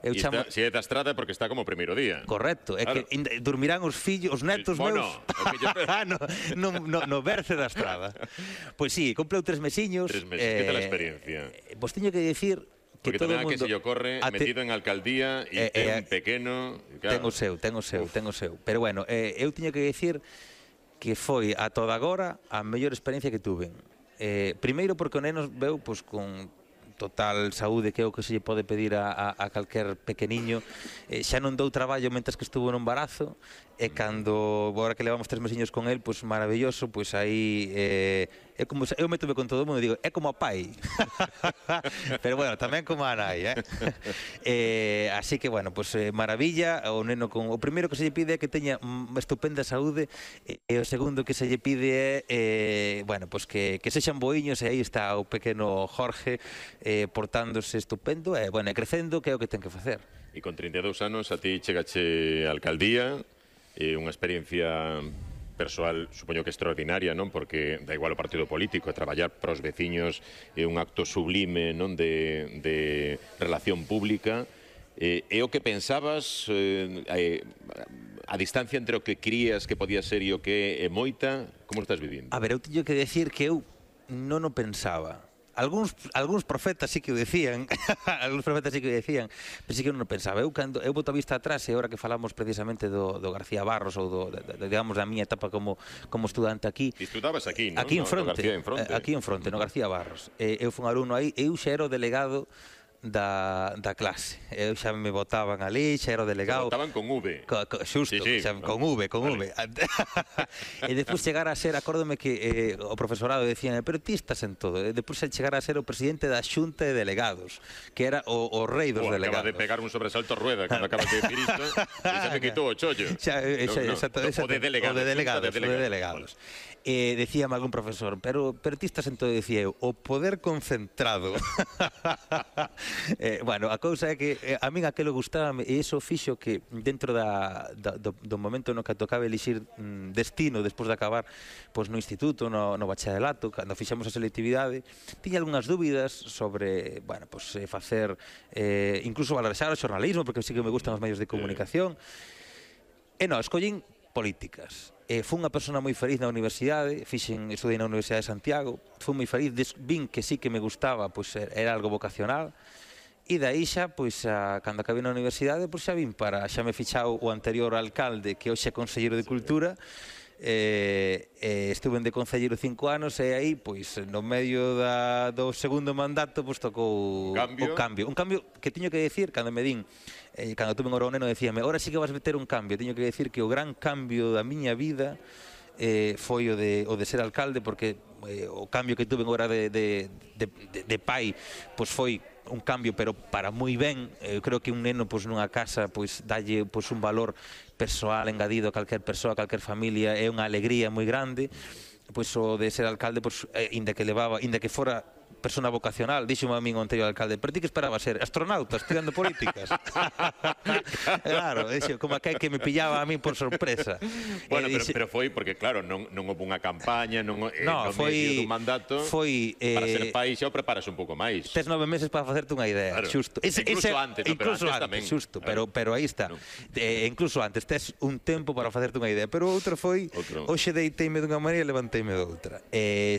Se é da estrada porque está como o primeiro día. Correcto, é que dormirán os fillos, os netos meus no berce da estrada. Pois sí, compreu 3 mesiños. 3 meses, que tal a experiencia? Pois teño que dicir porque tamén a que se lle ocorre metido en alcaldía e ten un pequeno... Ten o seu. Pero bueno, eu teño que dicir que foi a toda agora a mellor experiencia que tuven. Primeiro porque o neno veu con total saúde, que é o que se lle pode pedir a calquer pequeniño. Xa non dou traballo mentres que estuvo no embarazo, e cando, agora que levamos 3 mesiños con el, pois maravilloso, pois aí é como, eu métome con todo o mundo e digo, é como a pai. Pero bueno, tamén como a nai, así que bueno, pois maravilla, o neno con... O primeiro que se lle pide é que teña estupenda saúde, e o segundo que se lle pide é, bueno, pois que sexan boiños, e aí está o pequeno Jorge portándose estupendo, e bueno, crecendo, que é o que ten que facer. E con 32 anos a ti chegache a alcaldía, unha experiencia persoal, supoño que extraordinaria, non? Porque da igual o partido político, traballar pros veciños é un acto sublime, non? De relación pública. É o que pensabas, a distancia entre o que crías que podía ser e o que é moita, como estás vivindo? A ver, eu teño que decir que eu non o pensaba. Algúns profetas sí que o decían, pero sí que non o pensaba. Eu boto a vista atrás, e agora que falamos precisamente do García Barros, ou digamos da miña etapa como estudante aquí. Estudabas aquí, non? Aquí en fronte, no García Barros. Eu fui un alumno aí, eu xa era o delegado da clase. Eu xa me botaban ali, xa era o delegado. Botaban con V. Xusto, con V. E despois chegar a ser, acórdome que o profesorado decían, pero ti estás en todo. Despois chegar a ser o presidente da Xunta de Delegados, que era o rei dos delegados. Acaba de pegar un sobresalto Rueda cando acabas de decir isto, e xa me quitou o chollo. O de delegados. Decíame algún profesor, pero ti estás en todo, decía eu, o poder concentrado. Bueno, a cousa é que a min aquilo gustábame, e iso fixo que dentro do momento no que tocaba elixir destino despois de acabar no instituto, no bacharelato, cando fixamos a selectividade, tiña algunhas dúbidas sobre, bueno, facer, incluso valorizar o xornalismo, porque sí que me gustan os medios de comunicación, e non, escollín políticas. Fui unha persona moi feliz na universidade, estudei na Universidade de Santiago, fui moi feliz, vin que sí que me gustaba, era algo vocacional, e daí xa, cando acabei na universidade, xa vin xa me fichou o anterior alcalde, que hoxe é conselleiro de Cultura, estuve de concelleiro 5 anos, e aí, no medio do segundo mandato, tocou o cambio. Un cambio que teño que decir, cando me din, cando tuve un neno, decíame, ahora sí que vas meter un cambio. Teño que decir que o gran cambio da miña vida foi o de ser alcalde, porque o cambio que tuve agora de pai foi un cambio, pero para moi ben. Eu creo que un neno nunha casa dalle un valor persoal engadido a calquer persoa, a calquer familia, é unha alegría moi grande. O de ser alcalde, inda que fora persona vocacional, díxome a min o anterior alcalde, pero ti que esperaba ser astronauta estudiando políticas? Claro, como aquel que me pillaba a min por sorpresa. Bueno, pero foi porque, claro, non houve unha campaña, no medio dun mandato, para ser pai xa o preparas un pouco máis. Tes 9 meses para facerte unha idea, xusto. Incluso antes, xusto, pero aí está. Incluso antes, tes un tempo para facerte unha idea, pero outro foi, hoxe deiteime dunha maneira e levanteime doutra.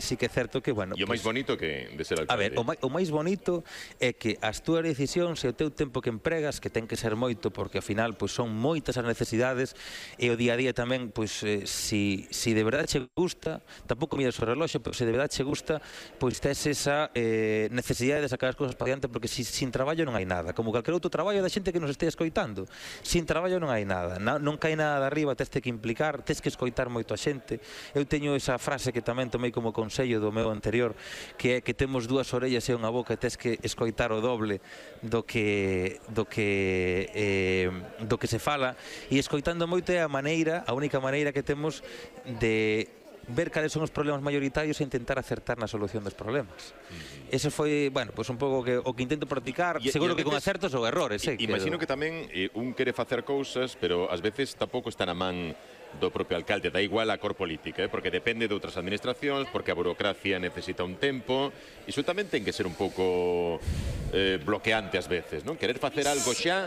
Sí que é certo que, bueno... E o máis bonito que de ser alcalde? A ver, o máis bonito é que as túas decisións e o teu tempo que empregas, que ten que ser moito, porque ao final son moitas as necesidades, e o día a día tamén, si de verdade che gusta, tampouco miras o reloxo, pero se de verdade che gusta, tes esa necesidade de sacar as cousas para diante, porque sin traballo non hai nada, como calquer outro traballo da xente que nos este escoitando. Sin traballo non hai nada, non cae nada de arriba, tes que implicar, tes que escoitar moito a xente. Eu teño esa frase que tamén tomei como consello do meu anterior, que é que temos dúas orellas e unha boca, e tes que escoitar o doble do que se fala, e escoitando moito é a única maneira que temos de ver cales son os problemas maioritarios e intentar acertar na solución dos problemas. Eso foi, bueno, un pouco o que intento practicar, seguro que con acertos ou errores. Imagino que tamén un quere facer cousas, pero ás veces tampouco está na man do propio alcalde, da igual a cor política, porque depende de outras administracións, porque a burocracia necesita un tempo, e iso tamén ten que ser un pouco bloqueante ás veces, non? Querer facer algo xa